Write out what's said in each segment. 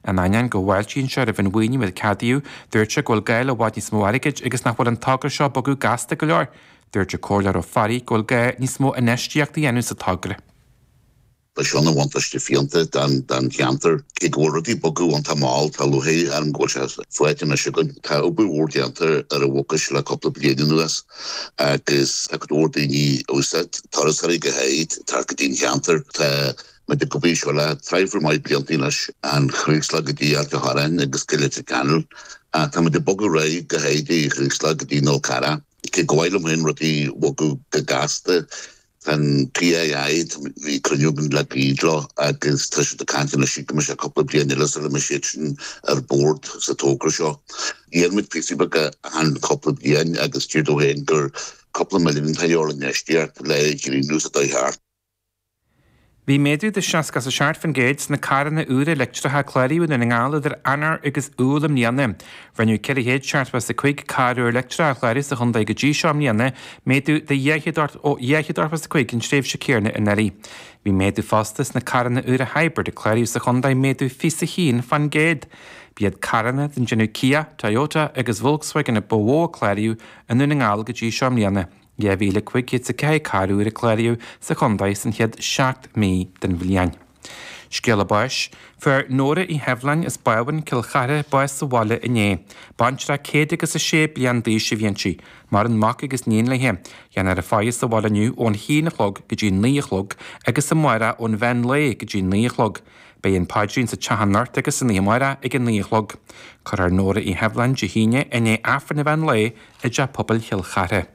In ainneoin go bhfáiltíonn sé roimh an mhaoiniú a ceadaíodh, dúirt sé go bhfuil gá le i bhfad níos mó airgid agus nach bhfuil an togra seo ag bogadh gasta go leor. Dúirt an Comhairleoir Ó Fearraigh go bhfuil gá níos mó infheistíocht a dhéanamh sa togra. Tá seo ina bhuntáiste fiúntach don cheantar. Cé go bhfuil rudaí ag bogadh iontach mall, tá lúcháir orm go bhfuil sé faighte anois againn. Tá obair mhór déanta ar an Mhucais le cúpla bliain anuas agus tá go leor daoine ag úsáid, turasóirí go háirid, ag teacht go dtí an cheantar. Tá muid ag obair anseo le traidhfil maith blianta anois, an Chraoslaigh go dtí Ailt an Chorráin agus go Leitir Ceanainn. Tá muid ag bogadh ar aghaidh go háirid an Chraoslaigh go dtí an Fhál Carrach. Cé gur mhaith liom féin rudaí a bhogadh go gasta, Tá an PII, bhí cruinniú againn le gairid leo agus tá siad ag caint anois go mbeidh sé cúpla bliain eile sula mbeidh siad sin ar bord sa togra seo. Dhein muid píosaí beaga achan cúpla bliain agus deir tú féin gur cúpla milliún atá de dhíobháil infheistíocht le grinneas a dul thart. Bhí méadú de 67% sna carranna úra leictreacha a cláraíodh i nDún na nGall idir Eanáir agus Iúil i mbliana. Rinneadh 475 carr úr leictreach a chlárú sa chontae go dtí seo i mbliana, méadú de 285 an tréimhse céanna anuraidh. Bhí méadú fosta sna carranna úra hybrid a cláraíodh sa chontae, méadú 21%. B'iad carranna den déanamh Kia, Toyota agus Volkswagen a ba mhó a cláraíodh i nDún na nGall go dtí seo i mbliana. 2,504 carr úr a cláraíodh sa chontae san chéad 7 mí den bhliain. Scéala báis, Fuair Nóra Uí Sheibhleáin as Bábhún, Cill Chartha, bás sa bhaile inné. Baintreach 106 bliain d'aois a bhí inti. Maireann mac agus iníon léi. Déanfar a faire sa bhaile inniu ón haon a chlog go dtí 9 a chlog agus amárach ón mheán lae go dtí 9 a chlog. Beidh an paidrín sa teach anocht agus san oíche amárach ag a 9 a chlog. Cuirfear Nóra Uí Sheibhleáin Dé hAoine i ndiaidh Aifreann an mheán lae i dTeach Pobail Chill Chartha.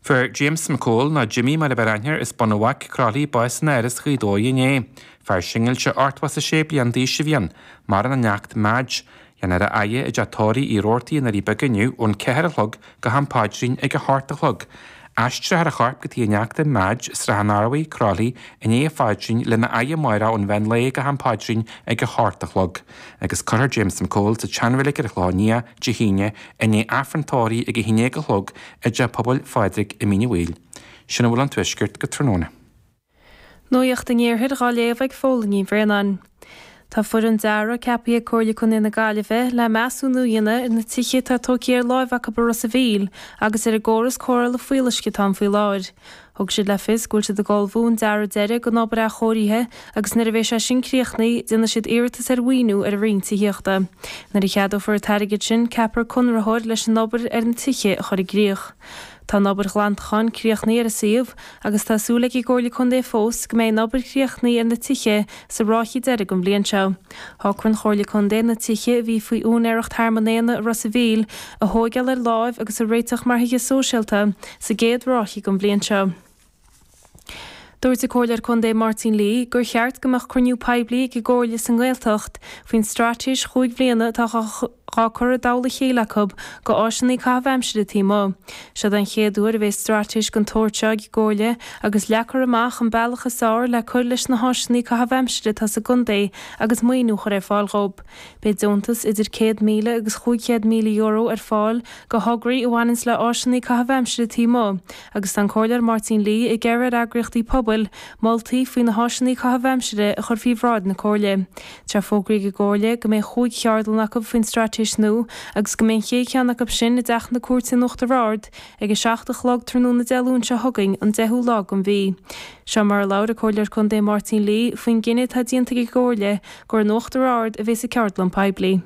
Fuair James McCole, nó Jimmy mar ab fhearr aithne air, as Bun an Bhaic, Croithlí, bás in Áras Ghaoth Dobhair inné. Fear singilte 86 bliain d'aois a bhí ann. Maireann a neacht Madge. Déanfar a fhaire i dteach tórraimh Uí Rabhartaigh i nDoirí Beaga inniu ón 4 a chlog go ham paidrín ag a hocht a chlog. Aistreofar a chorp go tigh a neachta, Madge, Srath an Arbhaigh, Croithlí, i ndiaidh an phaidrín lena fhaire amárach ón mheán lae go ham paidrín ag a hocht a chlog. Agus cuirfear James McCole sa tseanreilig ar an Chlochán Liath Dé hAoine i ndiaidh Aifreann tórraimh ag 11 a chlog i dTeach Pobail Phádraig i Mín an Bhaoill. Sin a bhfuil ón Tuaisceart go tráthnóna. Nuacht an Iarthair dhá léamh ag Fódhla Ní Bhraonáin. Tá foireann dearaidh ceaptha ag Comhairle Contae na Gaillimhe le measúnú a dhéanamh ar na tithe atá tógtha ar láimh acu i Ros a' Mhíl agus ar an gcóras cóireála fuíolluisce atá ann faoi láthair. Thug siad le fios go bhfuil siad ag ullmhú an dearadh deiridh don obair athchóirithe agus nuair a bheidh sé sin críochnaithe déanfaidh siad iarratas ar mhaoiniú ar an Roinn Tithíochta. Nuair a cheadófar an t-airgead sin ceapfar conraitheoir leis an obair ar na tithe a chur i gcrích. Tá an obair ghlantacháin críochnaithe ar an suíomh agus tá súil ag an gComhairle Contae fós go mbeidh an obair críochnaithe ar na tithe sa ráithe deiridh den bhliain seo. Shocraigh an Chomhairle Contae na tithe a bhí faoi úinéireacht Thearmann Éanna i Ros a' Mhíl a thóigeáil ar láimh agus a réiteach mar thithe sóisialta sa gcéad ráithe den bhliain seo. Dúirt an Comhairleoir Contae Máirtín Lee gur cheart go mbeadh cruinniú poiblí ag an gComhairle sa nGaeltacht faoin straitéis chúig bhliana atá dhá cur i dtoll a chéile acu go áiseanna caitheamh aimsire taobh amuigh. Seod é an chéad uair a bheidh straitéis den tsórt seo ag an gComhairle agus leagfar amach an bealach is fearr le cur leis na háiseanna caitheamh aimsire atá sa gcontae agus maoiniú a chur ar fáil dhób. Beidh deontas idir €100,000 agus €500,000 ar fáil go thograí a bhaineanns le áiseanna caitheamh aimsire taobh amuigh agus tá an Comhairleoir Máirtín Lee ag iarraidh ar eagraíochtaí pobail moltaí faoi na háiseanna caitheamh aimsire a chur faoi bhráid na Comhairle. Tá fógraithe ag an gComhairle go mbeidh chúig cheardlann acu faoin straitéis nua agus go mbeidh an chéad cheann acu sin i dTeach na Cúirte in Uachtar Ard ag 7 a chlog tráthnóna Dé Luain seo chugainn, an 10ú lá den mhí. Seo mar a labhair an Comhairleoir Contae Máirtín Lee faoin gcinneadh atá déanta ag an gComhairle gur in Uachtar Ard a bheas an ceardlann poiblí.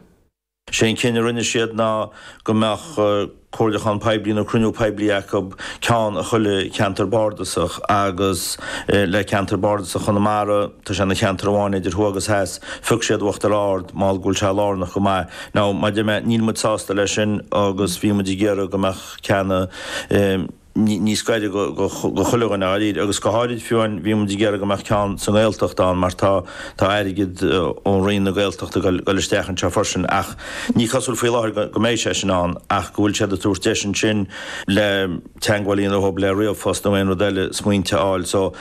Sé an cinneadh a rinne siad ná go mbeadh comhairliúchán poiblí nó cruinniú poiblí acu, ceann i chuile cheantar bardasach agus le ceantar bardasach Chonamara, tá sé ina cheantar amháin idir thuaidh agus theas, phioc siad Uachtar Ard mar go bhfuil sé lárnach go maith. Now, mar a deir mé, níl muid sásta leis sin agus bhí muid ag iarraidh go mbeadh ceann i. níos gaire go chuile dhuine dháiríre agus go háirid fiú amháin bhí muid ag iarraidh go mbeadh ceann sa nGaeltacht ann mar tá tá airgead ó Roinn na Gaeltachta ag dul isteach anseo freisin ach ní cosúil faoi láthair go mbeidh sé sin ann ach go bhfuil siad ag tabhairt deis ansin le teagmháil a dhéanamh leo le ríomhphost nó aon rud eile smaointe a fháil so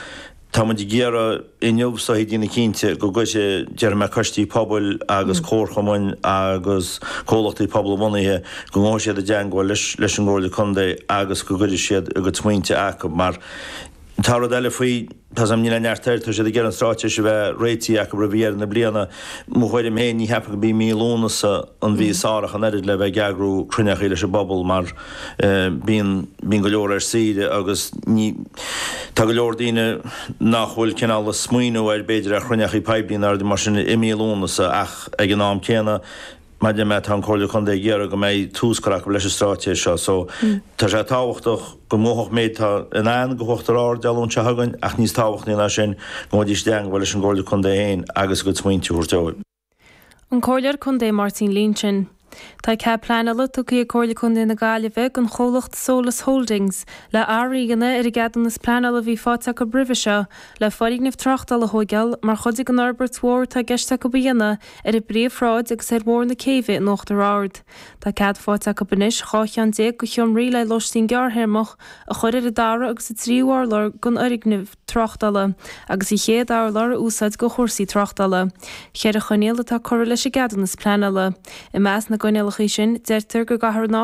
Tá muid ag iarraidh inniu is dóichí déanamh cinnte go gcuirfidh, déarfaidh mé, coistí pobail agus comharchumainn agus comhlachtaí pobalbhunaithe, go ngabhfaidh siad i dteangmháil leis an gComhairle Contae agus go gcuirfidh siad a gcuid smaointe acu mar Tá rud eile faoi, tá 's agam níl aon neart air, tá siad ag iarraidh an straitéis a bheith réitithe acu roimh dheireadh na bliana. Mo thuairim féin, ní cheapaim go b'í mí Lúnasa an mhí is fearr ach an oiread le bheith ag eagrú cruinneachaí leis an bpobal mar bíonn, bíonn go leor ar saoire agus ní, tá go leor daoine nach bhfuil cineál ag smaoineamh ar b'fhéidir ar chruinneachaí poiblí ná rudaí mar sin i mí Lúnasa ach ag an am céanna, Mar a deir mé, tá an Comhairle Contae ag iarraidh go mbeidh tús curtha acu leis an straitéis seo so tá sé tábhachtach go mbuafadh méid atá i ndán go hUachtar Ard Dé Luain seo chugainn ach níos tábhachtaí ná sin go ngabhfaidís i dteangmháil leis an gComhairle Contae féin agus a gcuid smaointe a thabhairt dóibh. An Comhairleoir Contae Máirtín Lynch. Tá cead pleanála tugtha ag Comhairle Contae na Gaillimhe don chomhlacht Solas Holdings le athrú a dhéanamh ar an gceadúnas pleanála a bhí faighte acu roimhe seo le foirgneamh tráchtála a thóigeáil mar chuid den fhorbairt mhór atá i gceist acu a dhéanamh ar an bPríomhshráid agus ar Bhóthar na Céibhe in Uachtar Ard. Tá cead faighte acu anois 12 cheann de sheomraí le lóistín gearrthéarmach a chur ar an dara agus an tríú urlár den fhoirgneamh tráchtála agus an chéad urlár a úsáid do chúrsaí tráchtála. Cheithre choinníoll atá curtha leis an gceadúnas pleanála. I measc na gcoinníollacha sin, deirtear go gcaithfear an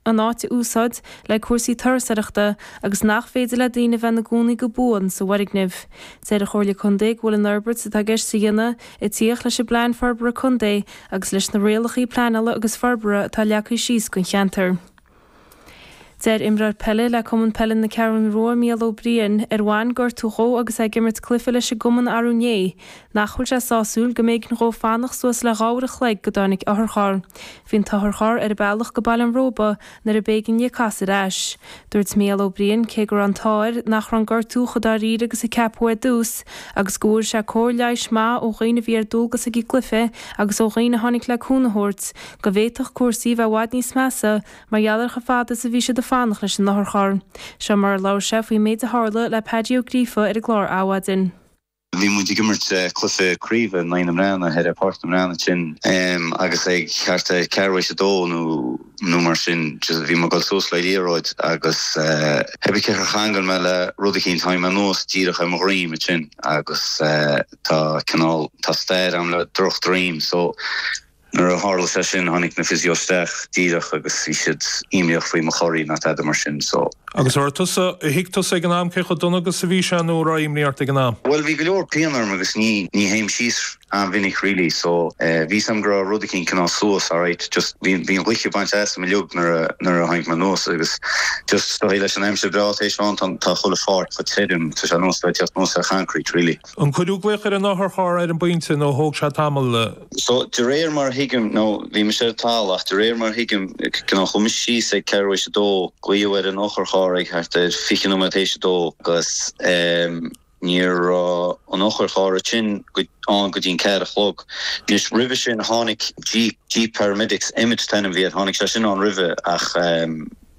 an áit a úsáid le cúrsaí turasóireachta agus nach féidir le daoine a bheith ina gcónaí go buan sa bhfoirgneamh. Deir an Chomhairle Contae go bhfuil an fhorbairt atá i gceist a dhéanamh ag tíocht leis an bPlean Forbartha Contae agus leis na rialacha pleanála agus forbartha atá leagtha síos don cheantar. Deir imreoir peile le Cumann Peile na Ceathrún Rua, Mícheál Ó Briain, ar bhain gortú dhó agus é ag imirt cluiche leis an gcumann arú inné, nach bhfuil sé sásúil go mb'éigean dhó fanacht suas le 2 uair a chloig go dtáinig otharcharr. Bhí an t-otharcharr ar a bealach go Baile an Róba nuair a b'éigean di casadh ar ais. Dúirt Mícheál Ó Briain cé go raibh an t-ádh air nach raibh an gortú chomh dáiríre agus a ceapadh ar dtús agus go bhfuair sé cóir leighis maith ó dhaoine a bhí ar dualgas ag an gcluiche agus ó dhaoine a tháinig le cúnamh a thabhairt, go bhféadfadh cúrsaí a bheith i bhfad níos measa mar gheall ar chomh fada is a bhí siad ag fanacht leis an otharcharr. Seo mar a labhair sé faoin méid a tharla le Paddy Ó Gríofa ar an gclár Adhmhaidin. Bhí muid ag imirt cluiche craoibhe in aghaidh na mBreathnaigh ar Pháirc na mBreathnach ansin agus ag thart ar ceathrú éis a dó nó nó mar sin just bhí mé ag dul suas le liathróid agus cibé cé char cheangail mé le rud eicínt tháinig mé anuas díreach ar mo dhroim ansin agus tá cineál tá stair agam le droch droim so Nuair a tharla sé sin, tháinig na physio isteach díreach agus bhí siad imníoch faoi mo chorraí ná tada mar sin so. Agus an raibh tusa, thuig tusa ag an am cé chomh dona agus a bhí sé nó an raibh imní ort ag an am? Bhuel bhí go leor pian orm agus ní, ní théim síos an-mhinic really so bhí 'fhios a'm go raibh rud eicínt cineál suas alright just bhí, bhí an ghaoth bainte asam uilig nuair a, nuair a tháinig mé anuas agus just is dóigh leis an aimsir breá tar éis a bheith ann tá, tá chuile pháirc chomh tirim, tá sé ar nós bheith ag teacht anuas ar choincreít really. An cuireadh glaoch ar an otharcharr ar an bpointe nó thóg sé tamall? So, de réir mar a thuigim, nó bhí mise ar an talamh ach de réir mar a thuigim, cineál chuaigh mise síos ag ceathrú éis a dó, glaodh ar an otharcharr ag thart ar 20 nóiméad théis a dó agus ní raibh an otharcharr ansin ann go dtí an ceathair a chlog. Anois, roimhe sin tháinig Jeep, Jeep Paramedics, Emmet an t-ainm a bhí air, tháinig sé sin ann roimhe ach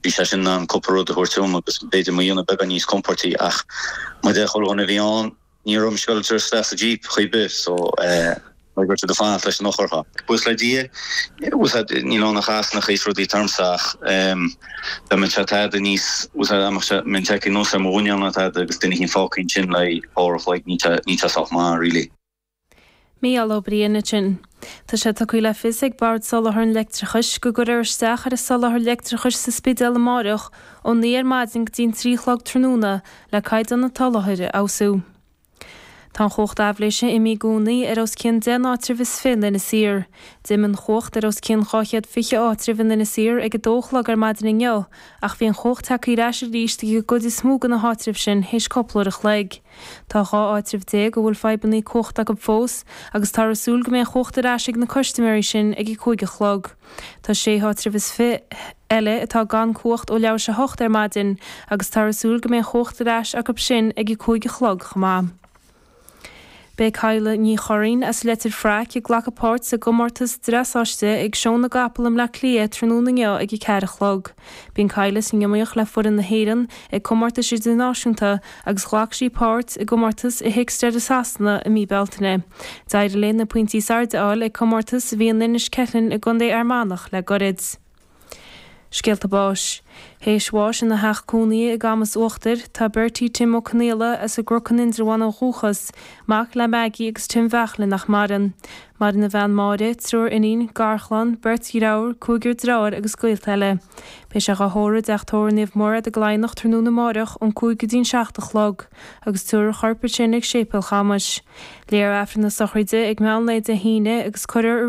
bhí sé sin in ann cúpla rud a thabhairt dom agus b'fhéidir mo dhéanamh beagán níos compóirtí ach mar a deir chuile dhuine a bhí ann, Ní raibh mise ag dul isteach sa Jeep chor ar bith so go raibh siad ag fanacht leis an otharcharr. Buíochas le Dia, níl ann ach easnacha is rudaí ormsa ach dá mbeadh sé tada níos, dá mbeadh sé, mbeinn tagtha anuas ar mo mhuineál nó tada agus duine eicínt fágtha ansin le uair a chloig, níl sé, níl sé sách maith really. Mícheál Ó Briain ansin. Tá sé tugtha le fios ag Bord Soláthair an Leictreachais go gcuirfear isteach ar an soláthar leictreachais sa Spidéal amáireach ó 9 ar maidin go dtí an 3 a chlog tráthnóna le caighdeán an tsoláthair a fheabhsú. Tá an chumhacht aibhléise imithe i gcónaí ar os cionn 10 n-áitreabh is 20 in Inis Oírr. D'imigh an chumhacht ar os cionn 220 áitreabh in Inis Oírr ag 2 a chlog ar maidin inniu ach bhí an chumhacht tagtha ar ais arís ag an gcuid is mó de na háitribh sin théis cúpla uair a chloig. Tá 12 áitreabh a bhfuil fadhbanna cumhachta acu fós agus táthar ag súil go mbeidh an chumhacht ar ais ag na custaiméirí sin ag a 5 a chlog. Tá sé háitreabh is fi eile atá gan cumhacht ó leathuair tar éis a hocht ar maidin agus táthar ag súil go mbeidh an chumhacht ar ais acu sin ag a 5 a chlog chomh maith. Beidh Cadhla Ní Churraoin as Leitir Fraic ag glacadh páirt sa gcomórtas dreasáiste ag Seó na gCapall i mBleá Cliath tráthnóna inniu ag 4 a chlog. Bíonn Cadhla san iomaíocht le foireann na hÉireann ag comórtais idirnáisiúnta agus ghlac sí páirt i gcomórtas i Hickstead i Sasana i mí Bealtaine. D'éirigh léi na pointí is airde a fháil ag comórtas a bhí in Inis Ceithleann i gContae Fhear Manach le goirid. Scéalta báis. Théis bháis ina theach cónaithe i gCamas Uachtair, tá Bertie Tim Ó Conaola, as an gCnoc in Indreabhán ó dhúchas, mac le Maggie agus Tim Bheachlainn nach maireann. Maireann a bhean Máire, triúr iníon, garchlann, beirt dhreabhar, cúigear dreabhár agus gaolta eile. Beidh sé dhá thórramh i dTeach Tórraimh Naomh Mairéad i gCladhnach tráthnóna amáireach ón 5 go dtí'n 7 a chlog, agus tabharfar a chorp ansin ag Séipéal Chamais. Léifear Aifreann na sochraide ag meán lae Dé hAoine agus cuirfear i.